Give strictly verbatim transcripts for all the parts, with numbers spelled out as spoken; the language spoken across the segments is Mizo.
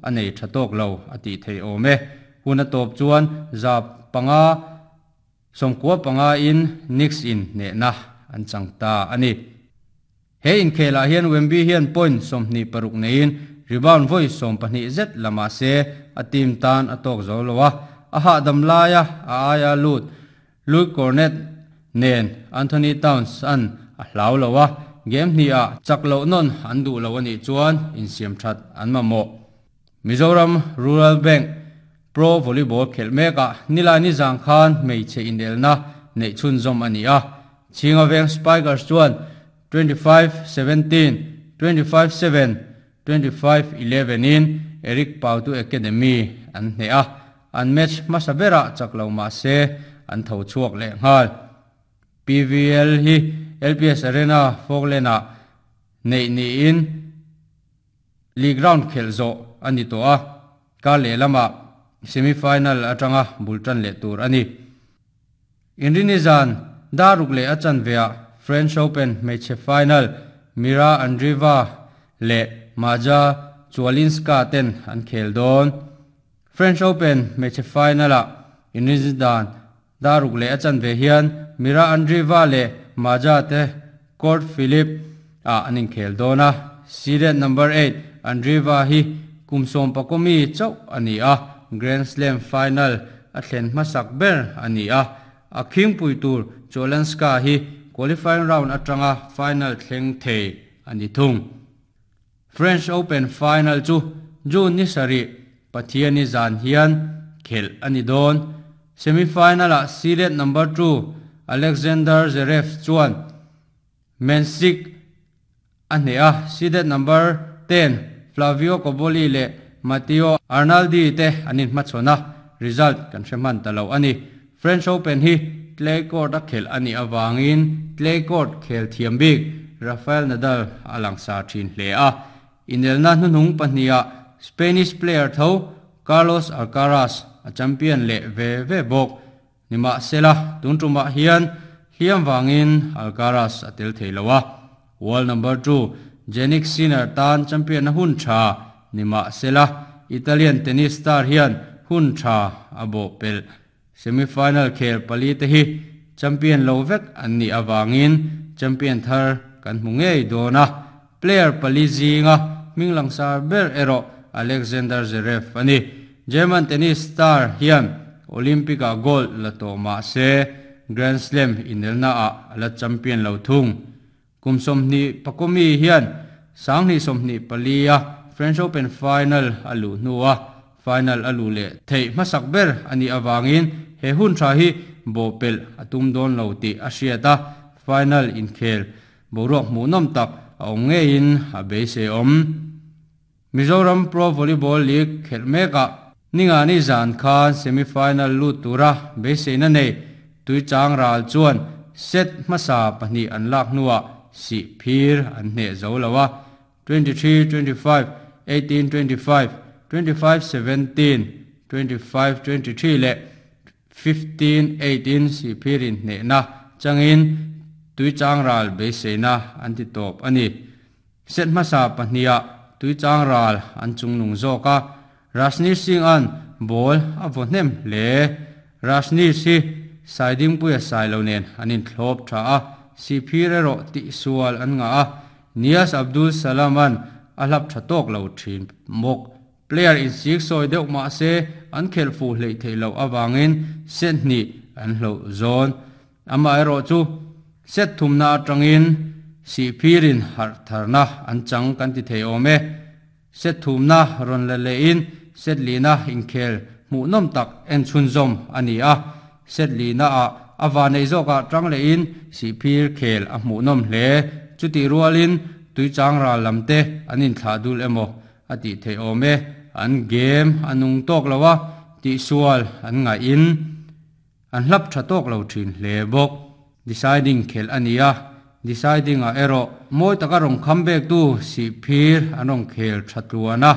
A nei tha tawk lo a tih theih awm e. Hun a tawp chuan za panga sawmkua panga in Knicks in hnehna an chang ta a ni. He inkhelah hian Wemby hian point sawmhnih paruk neiin rebound vawi sawm pahnih zet lama se a team tan a tawk zo lo a. A hahdam laia a aia lut Luke Kornet nen Anthony Towns an a hlau lo a. Game hnih ah chak loh nawn an duh lo anih chuan insiam that an mamawh. Mizoram Rural Bank Pro Volleyball khelh mekah Nilai zang khan hmeichhe inelna neih chhunzawm a ni a. Chhinga Veng Spikers chuan twenty-five seventeen, twenty-five seven, twenty-five eleven in Eric Pautu Academy an hneh a. An match hmasa berah chak lo mah se an tho chhuak leh nghal. P V L hi L P S Arena Falkland ah neih niin league round khelh zawh a ni tawh a. Kar leh lamah semi-final atanga bultan leh tur a ni. Inrini zan daruk leh a chanveah French Open hmeichhe final Mira Andreeva leh Maja Chwalinska ten an khel dawn. French Open hmeichhe final ah Inrini zan daruk leh a chanve hian Mira Andreeva leh Maja te Court Philip ah an inkhel dawn a. Seeded number eight Andreeva hi kumsawm pakomi chauh a ni a. Grand Slam final a thlen hmasak ber a ni a. A khingpui tur Chwalinska hi qualifying round atanga final thleng thei a ni thung. French Open final chu June ni sarih Pathiani zan hian khelh a ni dawn. Semi-final ah seeded number two Alexander Zverev chuan Mensik a hneh a. Seeded number ten Flavio Cobolli leh Matteo Arnaldi te an inhmachhawn a. Result kan hre hman ta lo a ni. French Open hi clay court a khelh a nih awangin clay court khel thiam bik Rafael Nadal a langsa thin hle a. Inelna hnuhnung pahnih Spanish player tho Carlos Alcaraz a champion leh ve ve bawk. Nima sela tun tumah hian hliam wangin Alcaraz a tel thei lo a. World number two Jannik Sinner tan champion na hun tha nima sela Italian tennis star hian hun tha a bo pel. Semi-final khel pali te hi champion lo vek an ni awangin champion thar kan hmu ngei dawn a. Player pali zinga hming langsar ber erawh Alexander Zverev a ni. German tennis star hian Olympic ah gold la tawh mah se Grand Slam inelna ah la champion lo thung. Kum sawmhnih pakomi hian sanghnih sawmhnih pali a French Open final a luh hnuah final a luh leh theih hmasak ber a nih awangin he hun tha hi bawhpelh a tum dawn lo tih a hriat a. Final inkhel boruak hmuhnawm tak a awm ngeiin a beisei awm. Mizoram Pro Volleyball League khelh mekah Ningani zan khan semi-final lut tura beiseina nei Tuichang ral chuan set hmasa pahnih an lak hnuah si phir an hneh zo lo a. twenty-three twenty-five, eighteen twenty-five, twenty-five seventeen, twenty-five twenty-three leh fifteen eighteen si phirin hnehna changin Tuichang ral beiseina an ti tawp a ni. Set hmasa pahnih Tuichang ral an chungnung zawk a. Rajneesh Singh an ball a vaw hnem hle. Rajneesh hi Saiding puia sai lo nen an inthlawp tha a. Si phir erawh tihsual an nga a. Nias Abdul Salam an a hlap tha tawk lo thin bawk. Player in sik sawi deuh mah se an khelh fuh hleih theih loh awangin set hnih an hloh zawn. Amah erawh chu set thumna atangin si phirin harh tharna an chang kan ti thei awm e. Set thumna rawn la lehin set lina inkhel hmuhnawm tak en chhunzawm a ni a. Set lina ah a vanei zawkah tang lehin si phir khel a hmuhnawm hle. Chuti rualin Tuichang ral lamte an inthlah dul emaw a tih thei awm e. An game a nung tawk lo a, tihsual an ngaihin an hlap tha tawk lo thin hle bawk. Deciding khelh a ni a. Deciding ah erawh mawi taka rawng kham bek tu si phir an rawng khel tha tluan a.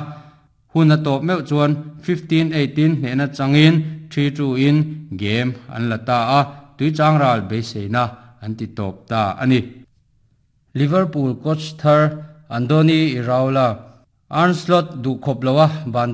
Hun a tawp meuh chuan fifteen eighteen hnehna changin three two in game an la ta a. Tuichang ral beiseina an ti tawp ta a ni. Liverpool coach thar Andoni Iraola Arne Slot duh khawp loa ban